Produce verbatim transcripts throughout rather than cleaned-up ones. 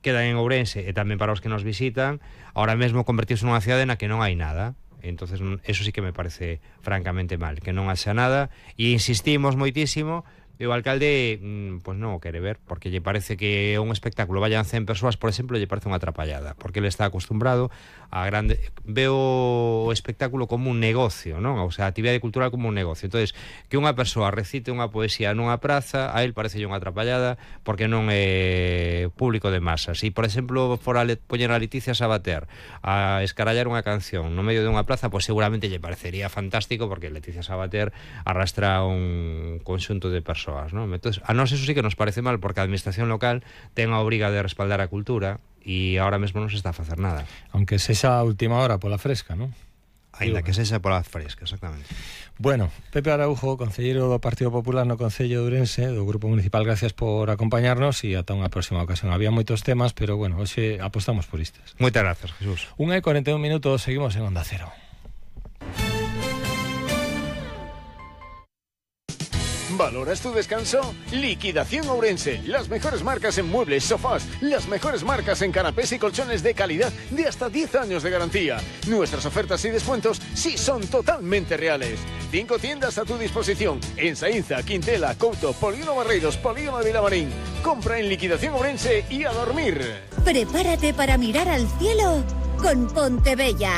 quedan en Ourense e tamén para os que nos visitan, ahora mesmo convertirse nunha cidade na que non hai nada. Entonces eso sí que me parece francamente mal, que non haxa nada, e insistimos moitísimo. E o alcalde, mm, pues non o quere ver, porque lle parece que un espectáculo vayan cen persoas, por exemplo, lle parece unha atrapallada, porque ele está acostumbrado a grande, veo o espectáculo como un negocio, non? O sea, a actividade cultural como un negocio. Entonces, que unha persoa recite unha poesía nunha praza, a él parece unha atrapallada, porque non é público de masas. E, por exemplo, fora le, poñer a Leticia Sabater a escarallar unha canción no medio de unha plaza, pues seguramente lle parecería fantástico, porque Leticia Sabater arrastra un conxunto de persoas. ¿No? Entonces, a nós eso sí que nos parece mal, porque a administración local ten a obriga de respaldar a cultura e ahora mesmo non se está a facer nada. Aunque sexa a última hora pola fresca, non? Ainda que sexa pola fresca, exactamente. Bueno, Pepe Araujo, concelleiro do Partido Popular no Concello de Ourense, do Grupo Municipal, gracias por acompañarnos e ata unha próxima ocasión. Había moitos temas, pero bueno, hoxe apostamos por istas. Moitas gracias, Jesús. Unha e cuarenta e un minutos, seguimos en Onda Cero. ¿Valoras tu descanso? Liquidación Ourense. Las mejores marcas en muebles, sofás, las mejores marcas en canapés y colchones de calidad de hasta diez años de garantía. Nuestras ofertas y descuentos sí son totalmente reales. Cinco tiendas a tu disposición en Saínza, Quintela, Couto, Polígono Barreiros, Polígono de Vilamarín. Compra en Liquidación Ourense y a dormir. Prepárate para mirar al cielo con Pontebella.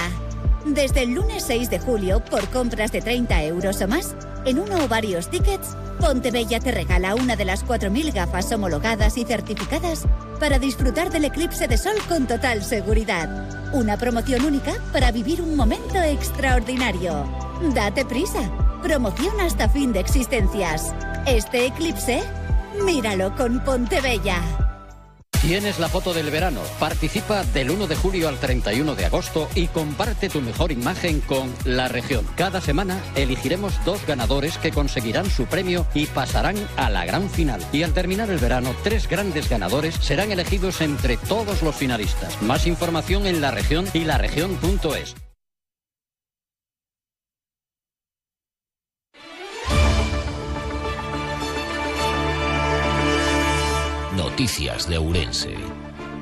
Desde el lunes seis de julio, por compras de treinta euros o más, en uno o varios tickets, Pontebella te regala una de las cuatro mil gafas homologadas y certificadas para disfrutar del eclipse de sol con total seguridad. Una promoción única para vivir un momento extraordinario. Date prisa. Promoción hasta fin de existencias. Este eclipse, míralo con Pontebella. Tienes la foto del verano. Participa del uno de julio al treinta y uno de agosto y comparte tu mejor imagen con La Región. Cada semana elegiremos dos ganadores que conseguirán su premio y pasarán a la gran final. Y al terminar el verano, tres grandes ganadores serán elegidos entre todos los finalistas. Más información en La Región y laregion punto es. Noticias de Ourense,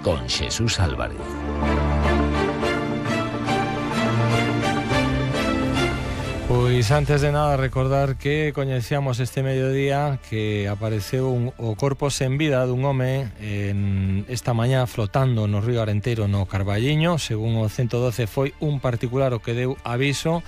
con Jesús Álvarez. Pois antes de nada recordar que coñecíamos este mediodía que apareceu un, o corpo sen vida dun home en esta mañá flotando no río Arenteiro no Carballiño. Según o ciento doce foi un particular o que deu aviso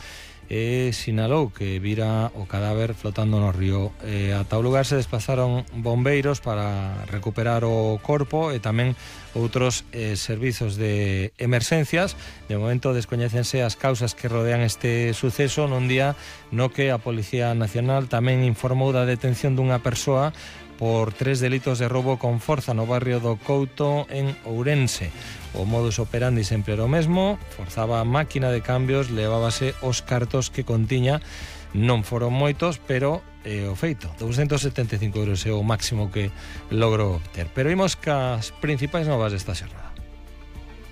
e sinalou que vira o cadáver flotando no río. E ata o lugar se desplazaron bombeiros para recuperar o corpo e tamén outros eh, servizos de emerxencias. De momento descoñécense as causas que rodean este suceso nun día no que a Policía Nacional tamén informou da detención dunha persoa por tres delitos de roubo con forza no barrio do Couto en Ourense. O modus operandi sempre era o mesmo, forzaba a máquina de cambios, levábase os cartos que contiña, non foron moitos, pero eh, o feito, doscientos setenta e cinco euros é o máximo que logrou obter. Pero imos cas principais novas desta xornada.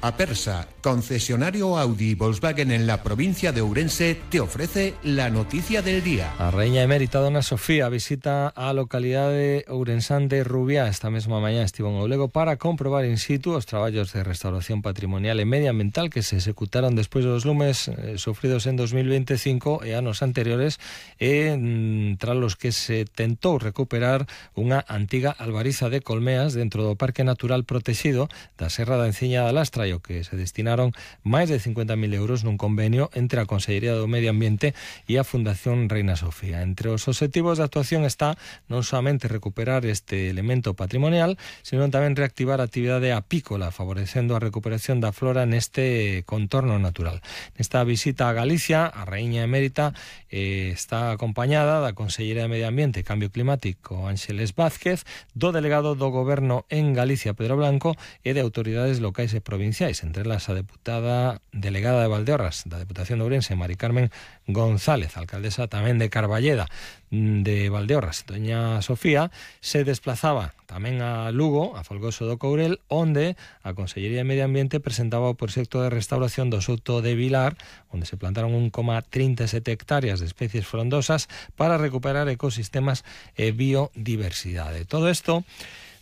Apersa, concesionario Audi y Volkswagen en la provincia de Ourense, te ofrece la noticia del día. A Raíña Emérita Dona Sofía visita a localidade ourensán de Rubiá. Esta mesma mañá estivo en Oulego para comprobar in situ os traballos de restauración patrimonial e medioambiental que se executaron despois dos lumes eh, sofridos en dos mil veinticinco e anos anteriores, e mm, tras los que se tentou recuperar unha antiga albariza de colmeas dentro do Parque Natural Protegido da Serra da Enciña da Lastra, e o que se destinaron máis de cincuenta mil euros nun convenio entre a Consellería do Medio Ambiente e a Fundación Reina Sofía. Entre os obxectivos de actuación está non somente recuperar este elemento patrimonial, sino tamén reactivar a actividade apícola, favorecendo a recuperación da flora neste contorno natural. Nesta visita a Galicia, a Raíña Emérita eh, está acompañada da Consellería de Medio Ambiente e Cambio Climático, Ángeles Vázquez, do delegado do Goberno en Galicia, Pedro Blanco, e de autoridades locais e provinciais, entre elas a deputada delegada de Valdeorras da Deputación de Ourense, Mari Carmen González, alcaldesa tamén de Carballeda de Valdeorras. Doña Sofía se desplazaba tamén a Lugo, a Folgoso do Courel, onde a Consellería de Medio Ambiente presentaba o proxecto de restauración do Souto de Vilar, onde se plantaron un coma trinta e sete hectáreas de especies frondosas para recuperar ecosistemas e biodiversidade. Todo isto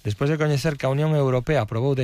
despois de coñecer que a Unión Europea aprobou de